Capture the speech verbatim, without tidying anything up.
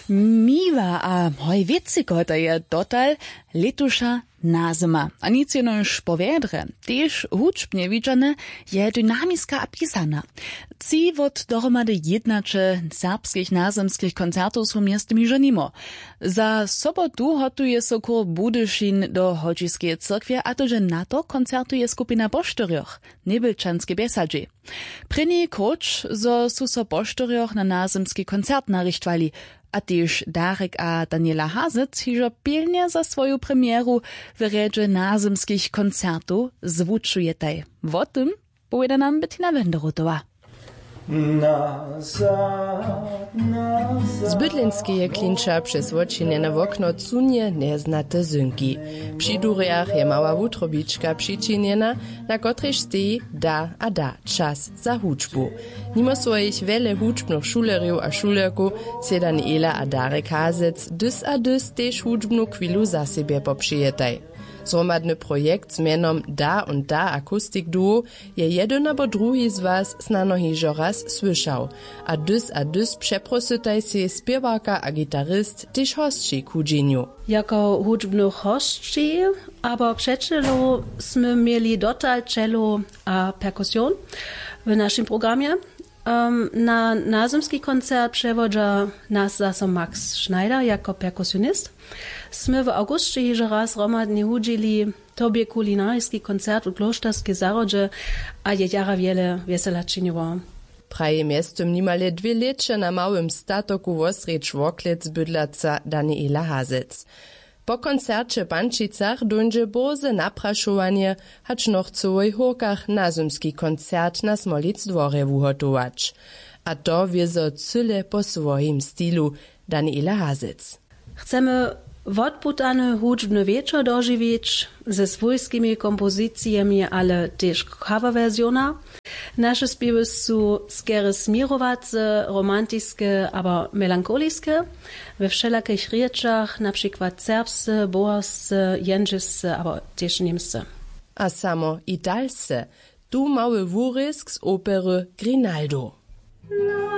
Miła a hoj wěcy koho to je dotal lětuša nazyma a nic jenož po wjedrje, tež hudźbnje widźane, je dynamiska a pisana. Tři wot dohromady jědnaće serbskich nazymskich koncertow su mjeztym hižo nimo. Za sobotu hotuje so kur budyšin do hodźiskeje cyrkwje a to dźe na to koncertuje skupina poštyrjoch, njebylčanske bjesadźi. Prěni króć zo su so poštyrjoch na nazymski koncert narichtwali, a tež darek a daniela hazec hižo pilnje za swoju premjeru w rjedźe nazymskich koncertow zwučujetaj. Wo tym powěda nam bettina wenderotowa. Z bydlenskeje klinča přez wočinjene wokno cunje njeznate zynki. Při durjach je mała wutrobička přičinjena, na kotrejž steji da a da čas za hudźbu. Nimo swojich wjele hudźbnych šulerjow a šulerkow sej daniela a darek hazec dys a dys tež hudźbnu chwilu za sebje popřijetaj. Zhromadny projekt z mjenom da und da akustik duo je jedyn abo druhi z was snano hižo raz słyšał. A dys a dys přeprosytaj sej spěwarka a gitarist tež hosći k hudźenju. Jako hudźbnych hosći abo přećelow smy měli dotal čelo a perkusion w našim programje. Na nazymski koncert přewodźa nas zaso max schneider jako perkusionist. Smy w awgusće hižo raz hromadnje hudźili, to bě kulinariski koncert w klóšterskej zahrodźe a je jara wjele wjesela činiło. Praji mjeztym nimale dwě lěće na małym statoku wosrjedź worklec bydlaca daniela hazec. Po koncerće w pančicach dóńdźe bórze naprašowanje, hač noch chcyłoj hórkach nazymski koncert na smolic dworje wuhotować. A to wězo cyle po swojim stilu. Daniela hazec. Chcemy wotputany hudźbny wječor dožiwić ze swójskimi kompozicijemi ale tež coverwersiona. Naše spěwy su skerje směrowace, romantiske abo melankoliske, we wšelakich rěčach na přikład serbsce, boharsce, jendźelsce abo tež němsce. A samo italsce. Tu mały wurězk z opery grinaldo.